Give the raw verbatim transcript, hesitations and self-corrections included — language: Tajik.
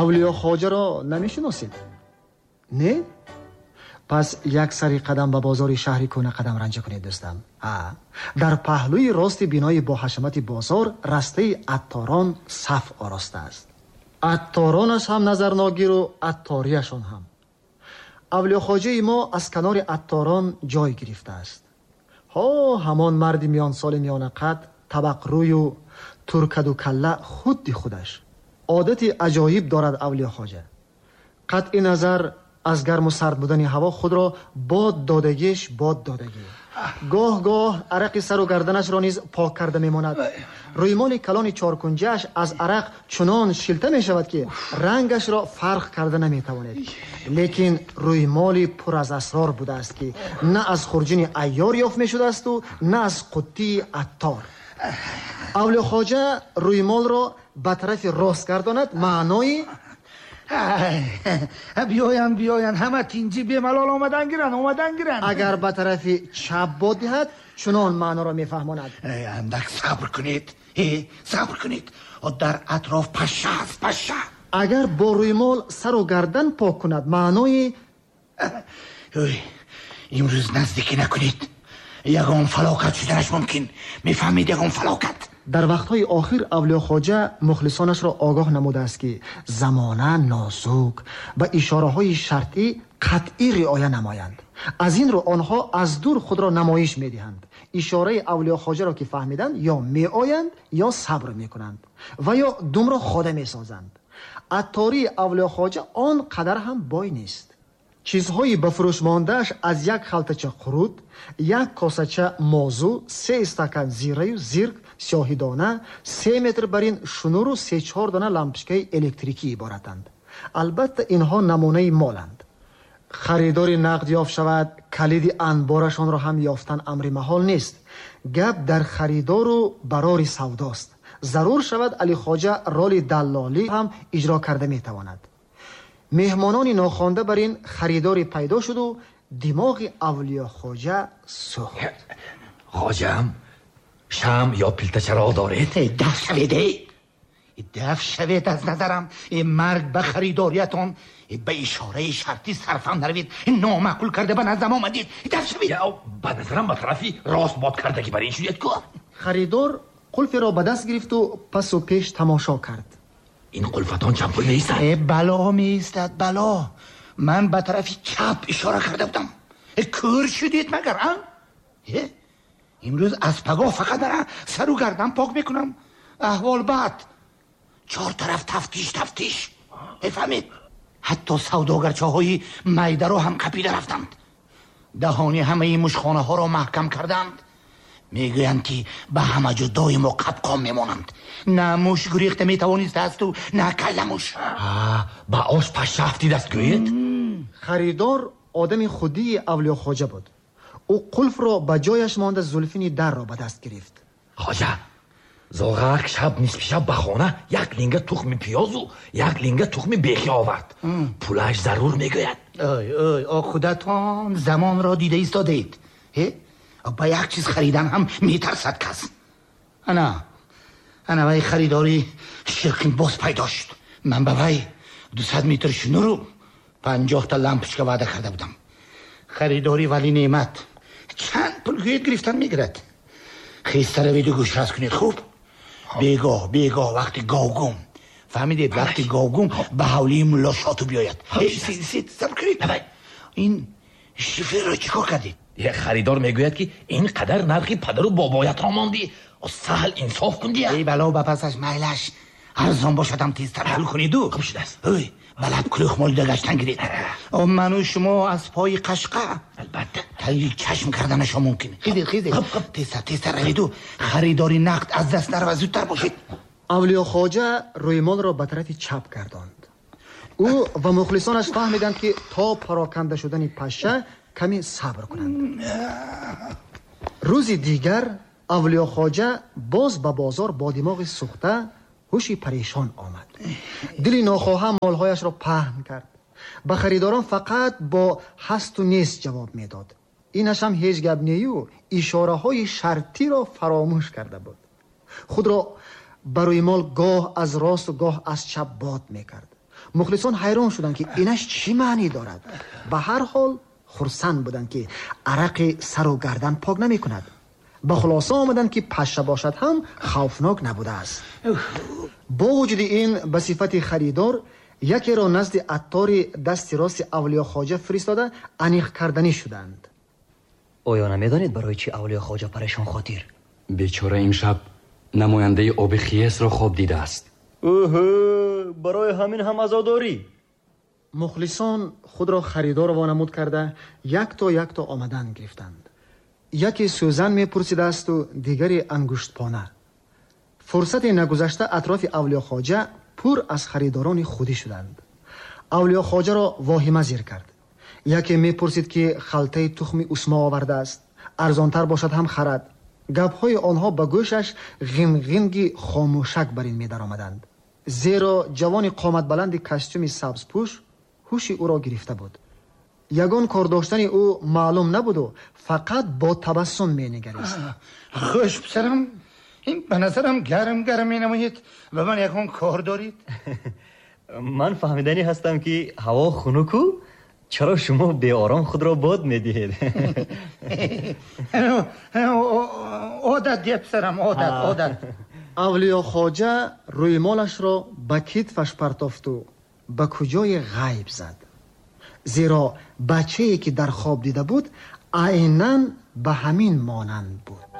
Авлиё Хоҷаро намешиносед? Не? Пас як сари қадам ба бозори шаҳри кӯна қадам ранҷа кунед, дӯстам. Дар паҳлӯи рости бинои бо ҳашамати бозор растаи атторон саф оростааст. Атторонаш ҳам назарногиру атторияшон ҳам. Авлиё Хоҷаи мо аз канори атторон ҷой гирифтааст. Ҳо, ҳамон марди миёнсоли миёнақад, табақрӯю туркаду калла худди худаш. Одати аҷоиб дорад Авлиё Хоҷа. Қатъи назар аз гарму сард будани ҳаво худро бод додагиш бод додагӣ. Гоҳ-гоҳ арақи сару гарданашро низ пок карда мемонад. Рӯймоли калони чоркунҷааш аз арақ чунон шилта мешавад, ки рангашро фарқ карда наметавонед. Лекин рӯймоли пур аз асрор будааст, ки на аз хурҷини айёр ёфт мешудаасту на аз қуттии аттор. Авлиё Хоҷа рӯймолро ба тарафи рост гардонад, маънои биёянд, биёянд, ҳама тинҷӣ бемалол омадан гиранд, омадан гиранд. Агар ба тарафи чап бод диҳад, чунон маъноро мефаҳмонад. Андак сабр кунед, сабр кунед, дар атроф паша аст, паша. Агар бо рӯймол сару гардан пок кунад, маънои имрӯз наздикӣ накунед, ягон фалокат шуданаш мумкин. Мефаҳмед, ягон фалокат. Дар вақтҳои охир Авлиё Хоҷа мухлисонашро огоҳ намудааст, ки замона нозук ба ишораҳои шартӣ қатъӣ риоя намоянд. Аз ин рӯ онҳо аз дур худро намоиш медиҳанд. Ишораи Авлиё Хоҷаро ки фаҳмиданд, ё меоянд, ё сабр мекунанд ва ё думро хода месозанд. Аттории Авлиё Хоҷа он қадар ҳам бой нест. Чизҳои ба фурӯш мондааш аз як халтача қурут, як косача мозу, се стакан зираю зирк, сиёҳидона, се метр барин шунуру се-чор дона лампочкаи электрикӣ иборатанд. Албатта инҳо намунаи моланд. Харидори нақд ёфт шавад, калиди анборашонро ҳам ёфтан амри маҳол нест. Гап дар харидору барори савдост. Зарур шавад, Алихоҷа роли даллолӣ ҳам иҷро карда метавонад. Меҳмонони нохонда бар ин харидори пайдо шуду димоғи Авлиё Хоҷа сӯхт. Хоҷам, шам ё пилтачароғ доред? Даф шавед, даф шавед аз назарам. Марг ба харидориятон, ба ишораи шартӣ сарфам наравед. Номаъқул карда ба наздам омадед. Даф шавед. Ба назарам ба тарафи рост бод кардагӣ бар ин шудед ку. Харидор қулферо ба даст гирифту пасу пеш тамошо кард. Ин қулфатон чанд пул меистад? Бало меистад, бало. Ман ба тарафи чап ишора карда будам. Кӯр шудед магар, а? Имрӯз аз пагоҳ фақат мара сару гардан пок мекунам. Аҳвол бад. Чор тараф тафтиш, тафтиш. Мефаҳмед? Ҳатто савдогарчаҳои майдаро ҳам қапида рафтанд. Даҳони ҳамаи мушхонаҳоро маҳкам карданд. Мегӯянд, ки ба ҳама ҷо доимо қапқон мемонанд. На муш гурехта метавонистаасту на калламуш. Ба ош паша афтидаст гӯед? Харидор одами худии Авлиё Хоҷа буд. Ӯ қулфро ба ҷояш монда зулфини дарро ба даст гирифт. Хоҷа, зоғак шаб нисфи шаб ба хона як линга тухми пиёзу як линга тухми бехӣ овард. Пулаш зарур мегӯяд. Ой, ой, о худатон замонро дида истодаед. Ба як чиз харидан ҳам метарсад кас. Ана, ана вай харидори ширкин боз пайдо шуд. Ман ба вай дусад метр шунуру панҷоҳта лампочка ваъда карда будам. Харидори вали неъмат чанд пул гӯед гирифтан мегирад. Хеста раведу гӯшрас кунед, хуб? Бегоҳ, бегоҳ вақти говгум. Фаҳмидед, вақти говгум ба ҳавлии мулло Шоту биёяд. Сабр кунед. Ин шиферро чӣ кор кардед? Харидор мегӯяд, ки ин қадар нархи падару бобоятро мондӣ, саҳл инсоф кун дия. Эй бало ба пасаш майлаш, арзон бошадам тезтар ҳал куниду. Хуб шудааст. Ой, ба лаб кулӯх молида гаштан гиред. Ману шумо аз пои қашқа албатта таи чашм карданашо мумкин. Хизед, хизед, тезтар, тезтар раведу харидори нақд аз даст нарава, зудтар бошед. Авлиё Хоҷа рӯймолро ба тарафи чап гардонд. Ӯ ва мухлисонаш фаҳмиданд, ки то пароканда шудани паша каме сабр кунанд. Рӯзи дигар Авлиё Хоҷа боз ба бозор бо димоғи сӯхта ҳуши парешон омад. Дили нохоҳа молҳояшро паҳн кард. Ба харидорон фақат бо ҳасту нест ҷавоб медод. Инаш ҳам ҳеҷ гап нею ишораҳои шартиро фаромӯш карда буд. Худро ба рӯймол гоҳ аз росту гоҳ аз чап бод мекард. Мухлисон ҳайрон шуданд, ки инаш чӣ маънӣ дорад. Ба ҳар ҳол хурсанд буданд, ки арақи сару гардан пок намекунад. Ба хулоса омаданд, ки паша бошад ҳам хавфнок набудааст. Бо вуҷуди ин, ба сифати харидор якеро назди аттори дасти рости Авлиёхоҷа фиристода аниқ карданӣ шуданд. Оё намедонед, барои чӣ Авлиёхоҷа парешон хотир? Бечора имшаб намояндаи оби хиесро хоб дидааст. Оҳо, барои ҳамин ҳам азодорӣ. Мухлисон худро харидор вонамуд карда, якто якто омадан гирифтанд. Яке сӯзан мепурсидаасту дигаре ангуштпона. Фурсате нагузашта атрофи Авлиёхоҷа пур аз харидорони худӣ шуданд. Авлиёхоҷаро воҳима зир кард. Яке мепурсид, ки халтаи тухми усмо овардааст, арзонтар бошад ҳам харад. Гапҳои онҳо ба гӯшаш ғинғинги хомӯшак бар ин медаромаданд, зеро ҷавони қоматбаланди костюми сабзпӯш ҳуши ӯро гирифта буд. Ягон кор доштани ӯ маълум набуду фақат бо табассум менигарист. Хуш, писарам, ин ба назарам гарм гарм менамоед. Ба ман ягон кор доред? Ман фаҳмиданӣ ҳастам, ки ҳаво хунуку чаро шумо беором худро бод медиҳед. Одат дия, писарам, одат, одат. Авлиёхоҷа рӯймолашро ба китфаш партофту ба куҷои ғайб зад, зеро бачае, ки дар хоб дида буд, айнан ба ҳамин монанд буд.